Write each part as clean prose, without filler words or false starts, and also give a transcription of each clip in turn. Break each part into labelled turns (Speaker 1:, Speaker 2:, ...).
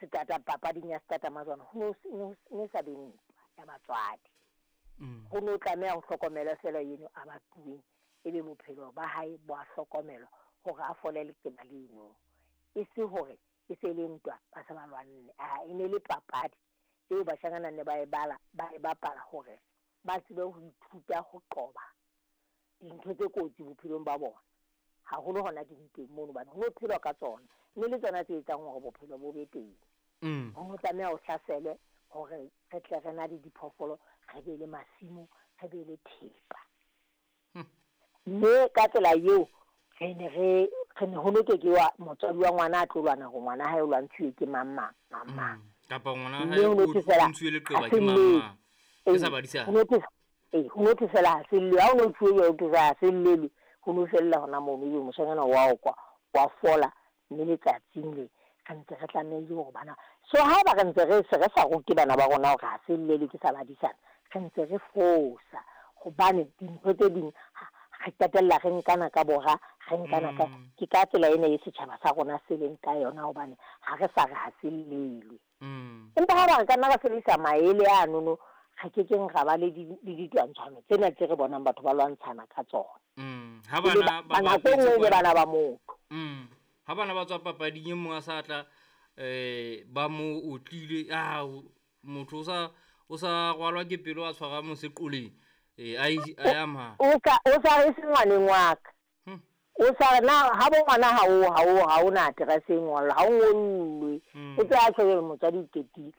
Speaker 1: Setata papading ya setatamajwana ho no ne sa be ntwa ya batswadi. Ho no tlameha ho hlokomelwe feela eno a batuweng, ebe bophelo ba hae bo a hlokomelwa hore a fole leqeba leno. E se hore e se le ntwa ba se ba lwanne. Aa, e ne le papadi eo bashanyana ne ba e bala, ba e bapala hore ba tsebe ho ithuta ho qoba dintho tse kotsi bophelong ba bona. Haholo hona dintweng mono hobane ho no phelwa ka tsona, mme le tsona tse etsang hore bophelo bo be teng. Ho no tlameha ho hlaselwe hore re tle re na le diphoofolo, re be le masimo, re be le thepa. Mme ka tsela eo re ne re re ne ho no ke ke wa motswadi wa ngwana a tlo lwana hore ngwana hae o lwantshuwe ke mang mang mang mang.
Speaker 2: Kapa ngwana
Speaker 1: Mme
Speaker 2: hae
Speaker 1: ho no
Speaker 2: o
Speaker 1: thwe fela
Speaker 2: o ntshuwe
Speaker 1: ha
Speaker 2: leqeba
Speaker 1: se
Speaker 2: ke mang
Speaker 1: llelwe.
Speaker 2: mang. Ke
Speaker 1: Ee,
Speaker 2: sa badisana.
Speaker 1: ho no thwe ee, ho no thwe fela ha se llelwe. Ha o no thuwe jwalo ho thwe fela ha se llelwe. Ho no fella hona mono ebe moshanyana wa okwa, wa fola mme letsatsing le re ntse re tlamehile hore bana. So haeba re ntse re se re sa rute bana ba rona hore ha se llelwe ke sa badisana, re ntse re fosa hobane dintho tse ding re qetella re nkana ka bora, re nkana ka ke ka tsela ena e setjhaba sa rona se leng ka yona hobane ha re sa re ha se llelwe. Empa haeba re ka nna ra sebedisa maele anono, re kekeng ra ba le di le ditwantshano tsena tse re bonang batho ba lwantshana ka tsona.
Speaker 2: Ha
Speaker 1: Ebe
Speaker 2: bana
Speaker 1: ba
Speaker 2: ba
Speaker 1: nako e
Speaker 2: bapetse
Speaker 1: nngwe ebe
Speaker 2: kwana
Speaker 1: bana ba motho.
Speaker 2: Ha bana ba tswa papading e mong a sa tla ba mo otlile, ah motho o sa rwalwa ke pelo a tshwara moseqoleng. A a ya ma.
Speaker 1: O ka o sa re se ngwaneng wa ka. O sa re na ha bo ngwana ha o ha o ha o na address e ngollwa, ha o ngollwe. O tse a tjho motswadi o qetile.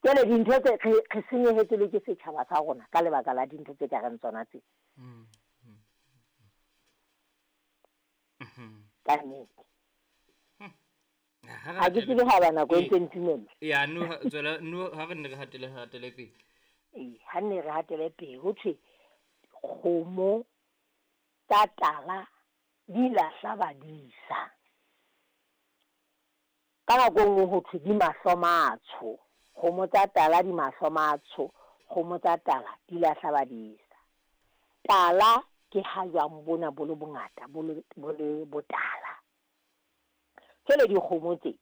Speaker 1: Jwale dintho tse re re senyehetswe le ke setjhaba sa rona ka lebaka la dintho tse ka reng tsona tse. Ka nnete.
Speaker 2: Ha re
Speaker 1: Ha ke
Speaker 2: hatele
Speaker 1: tsebe haeba nako e
Speaker 2: ee.
Speaker 1: ntse ntumella.
Speaker 2: Ya no tswela no ha re nne re hatele hatele pele.
Speaker 1: Ee, ha nne re hatele pele ho thwe kgomo tsa tala di lahla badisa. Ka nako e nngwe ho thwe di mahlo matsho. Kgomo tsa tala di mahlo matsho, kgomo tsa tala di lahla badisa. Tala ke ha jwang bona bo le bongata bo le bo le botala. Jwale dikgomo tse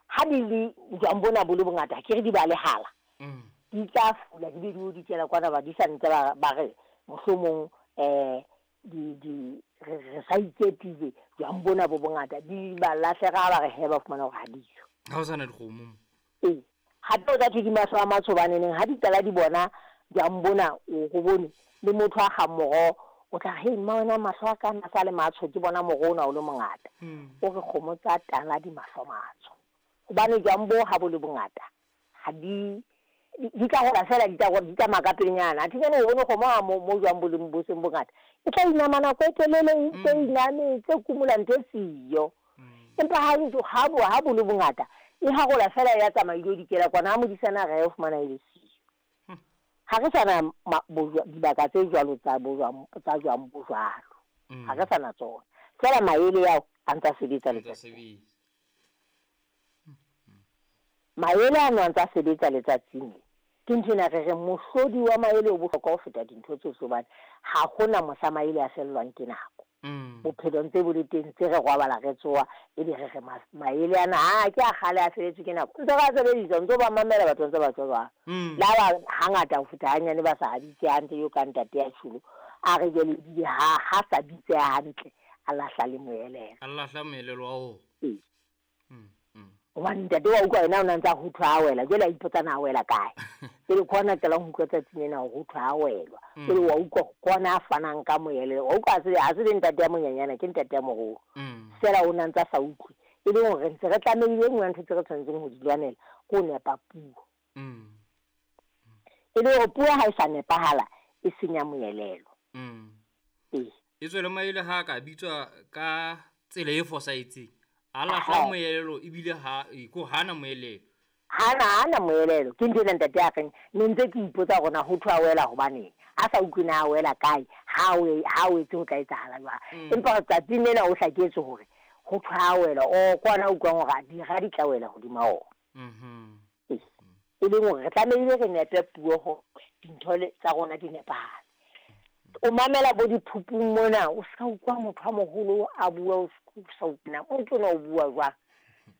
Speaker 1: ha di le jwang bona bo le bongata akere di balehala. Di tla fula di be di o dikela kwana badisa ntse ba ba re mohlomong di di re re sa ikepile jwang bona bo bongata di ba lahlega ha ba re he ba fumana hore ha diyo.
Speaker 2: Ha ho sana dikgomo mo.
Speaker 1: Ee, hape o tla thwe di mahlo a matsho hobaneneng ha di qala di bona jwang bona o ko bone le motho a kgang moroho o tla re, hei mma wena mahlo a ka a sa le matsho ke bona moroho ona o le mongata. O re kgomo tsa tala di mahlo matsho. Hobane jwang bo ha bo le bongata ha di di tla hola fela di tla di tsamaya ka pelenyana. Athe jwale o bone kgomo ha mo mo jwang bo leng bo seng bongata e tla inama nako e telele e ntse iname e tse kumula ntho e siyo. Empa ha ntso ha bo ha bo le bongata e harola fela ya tsamaya e ilo dikela kwana ha modisana a re o fumana e le siyo. Ha re sana dibaka tse jwalo tsa bojwang tsa jwang bo jwalo. Ha re sana tsona. Feela maele ao a ntsa sebetsa
Speaker 2: Ntsa
Speaker 1: letsatsi.
Speaker 2: sebetsa.
Speaker 1: Maele ano a ntsa sebetsa letsatsing le. Ke nthwena re reng mohlodi wa maele o bohlokwa ho feta dintho tsohle hobane ha hona mohla maele a fellwang ke nako. Bophelo ntse bo le teng tse re robala re tsoha ebe re re maele ana ha ke a kgale a feletswe ke nako. Ntse re a sebedisa ntso ba mamela batho ntse ba tswa jwalo. Le ha ba hangata ho feta hanyane ba sa bitse hantle eo ka ntate ya tjholo a re jwale ebile ha ha sa bitse hantle a lahla le moelelo.
Speaker 2: A lahla moelelo wa ona.
Speaker 1: Ee. Hobane ntate wa utlwa yena o na ntsa ho thwe a wela jwale a ipotsa na a wela kae. Jwale ke hona qalang ho utlwa tsatsing lena hore ho thwe a welwa. Jwale wa utlwa ke hona a fanang ka moelelo. Wa utlwa ha se le ntate ya monyenyana ke ntate ya moholo. Feela o na ntsa sa utlwe. E leng hore re ntse re tlamehile e nngwe ya ntho tse re tshwanetseng ho di lwanela ke ho nepa puo. E le hore puo ha e sa nepahala e senya moelelo. Ee.
Speaker 2: E tswele maele ha ka bitswa ka tsela e fosahetseng. A lahla moelelo ebile ha ko hana moelelo.
Speaker 1: Hana hana moelelo. Ke ntho ena ntate a reng ne ntse ke ipotsa hore na ho thwe a wela hobaneng. A sa utlwe na a wela kae, ha o ha o etse ho tla etsahala jwang. Empa tsatsing lena o hlaketse hore ho thwe a wela o kwana utlwang hore dira di tla wela hodima ona. E leng hore re tlamehile re nepe puo hore dintho le tsa rona di nepahale. O mamela bo diphupung mona o ska utlwa motho a moholo a bua o sa utlwe na o ntso na o bua jwang.